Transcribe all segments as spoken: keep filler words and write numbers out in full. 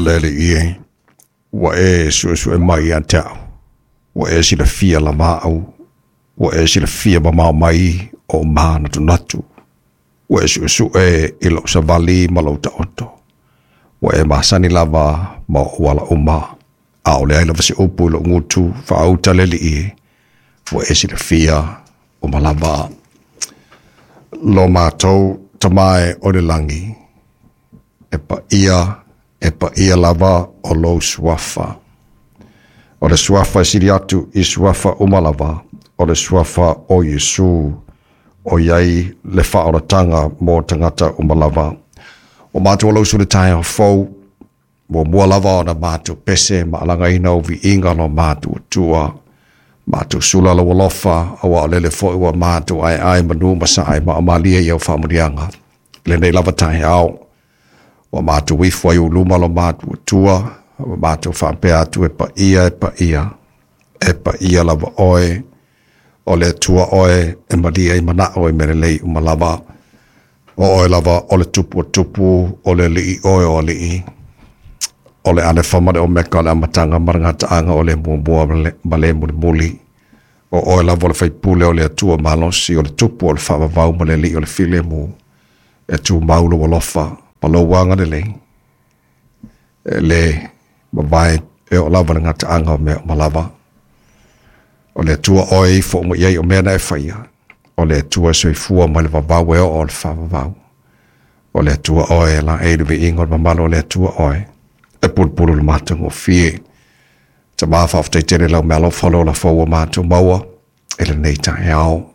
Le Alii e, ua e suesue mai ia te au, ua e silafia lava au, ua e silafia mamao mai o manatunatu, ua e suesue i lou savali ma lou taoto, ua e masani lava ma ou ala uma, ʻaʻole ai lava se upu i lou gutu, faauta le Alii e, ua e silafia uma lava. Lo matou Tama e o le lagi, e paia, e paia lava o lou suafa. O le suafa e sili atu i suafa uma lava, o le suafa o Iesu, o i ai le faaolataga mo tagata uma lava. O matou alausu le taeao fou, muamua lava ona matou pese ma alagaina o viiga lo matou Atua. Matou sula lou alofa, auā o lele foi ua matou aeae manu ma sae ma malie i au faamanuiaga. Lenei lava taeao, ua matou ifo ai i luma lo matou Atua, ua matou faapea atu e paia e paia, e paia lava oe, o le Atua oe e malie ai manao i mea lelei uma lava. O oe lava o le Tupu o tupu, o le Alii oe o alii, o le Alefa ma le Omeka, o le Amataga ma le Gataaga, o le Muamua ma le Mulimuli. O oe lava o le Faipule o le Atua malosi, o le Tupu o le Faavavau ma le Alii o le Filemu, e tumau lou alofa ma lou agalelei, e le mavae e oo lava le gataaga o mea uma lava. O le Atua oe e ifo uma i ai o mea na e faia, o le Atua e soifua mai le vavau e oo o le faavavau. O le Atua oe e laei le viiga o le mamalu, o le Atua oe e pulupulu le matagofie. Tama faafetai tele lau meaalofa le ola fou ua matou maua i lenei taeao.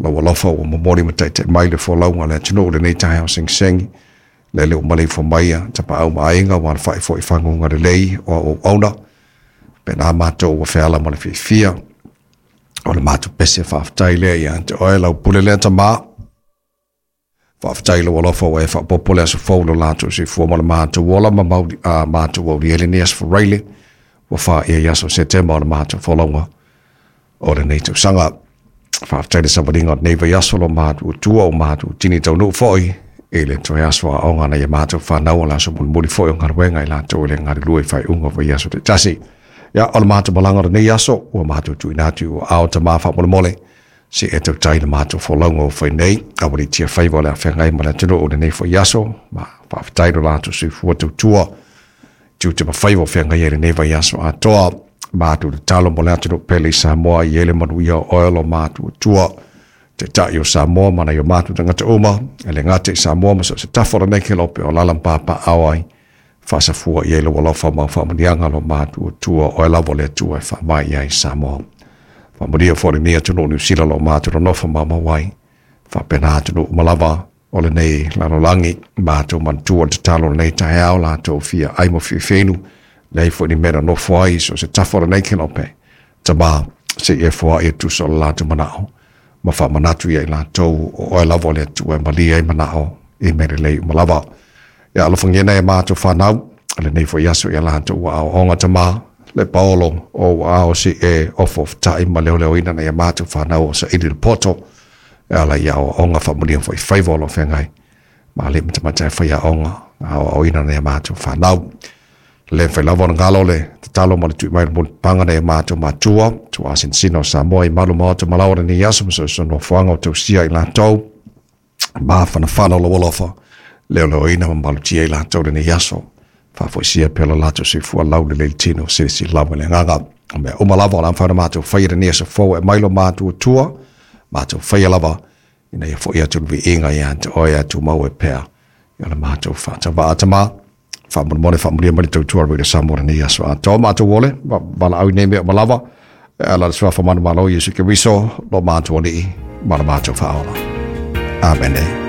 Lau alofa ua momoli ma taitai mai le folauga a le atunuu i lenei taeao segisegi. Lele ua maleifua mai tapaau ma aiga ua alafai foi i faguga lelei o auauauna. Pena matou ua feala ma le fiafia. O le matou pese faafetai lea ia te oe lau pule lea Tama. Faafetai lou alofa ua e faaopoopo le aso fou lo latou soifua ma le matou ola ma mauli, a matou aulia lenei aso Faraile ua faia i aso Setema o le matou folauga o lenei tausaga. Faafetai le savaliga o lenei vaiaso lo matou Atua o matou tini taunuu foi i le toe aso aoga na ia matou fanau o le aso mulimuli foi o galuega i latou i le galulue i faaiuga o vaiaso taitasi. Ia, o le matou malaga o lenei aso ua matou tuuina atu i ua ao Tama faamolemole se e tautai le matou folauga o fai nei, aualiitia faiva o le afeagai ma le atunuu o lenei foi aso, ma faafetai lo latou soifua tautua tiute ma faiva o feagai ai lenei vaiaso atoa. Matou tatalo mo le atunuu pele i Samoa i ele manuia o oe lo matou Atua, Taitai o Samoa ma nai o matou tagata uma, e le gata i Samoa ma so o se tafa o lenei kelope o alaala ma papaaao ai, faasafua i ai lou alofa ma au faamanuiaga lo matou Atua, oe lava o le Atua e faavae i ai Samoa. Faamanuia foi lenei atunuu o Niu Sila lo matou nonofo maumau ai, faapena atunuu uma lava o lenei lalolagi. Matou manatua le tatalo o lenei taeao, latou fia ai ma fiafinu, leai foi ni mea nonofo ai so o se tafa o lenei kelope. Tama, se i e foai e tusa o le latou manao, ma faamanatu ia i latou o oe lava o le Atua e malie ai manao i mea lelei uma lava. Ia alofagia nai a matou fanau, lenei foi aso ia latou ua aoaoga Tama, le paolo o ua ao se e ofaofatai ma leoleoina nai a matou fanau o saili le poto, e ala i aoaoga faamanuia foi faiva o lo o feagai ma alii ma tamaitai faiaoga aoaoina nai a matou fanau. Le mafai lava ona galo le tatalo ma le tui mai le mulipapaga nai a matou matua, tuaasinasina o Samoa i malu maota ma laoa lenei aso ma soso nofoaga o tausia i latou, mafanafana o lou alofa, leoleoina ma malutia i latou lenei aso, faafoisia pea lo latou soifua laulelei le tino, silasila lava i le agaga. O mea uma lava o le a mafai ona matou faia lenei aso fou e mai lo matou Atua, matou faia lava ina ia foi atu le viiga ia te oe a tumau e pea i o le matou faatavaa Tama. Faamolemole faamanuia mai le tautua Radio Samoa lenei aso atoa. Matou ole, valaau i nei mea uma lava, e ala i le suafa manumalo o Iesu Keriso, lo matou Alii ma le matou Faaola. Amene.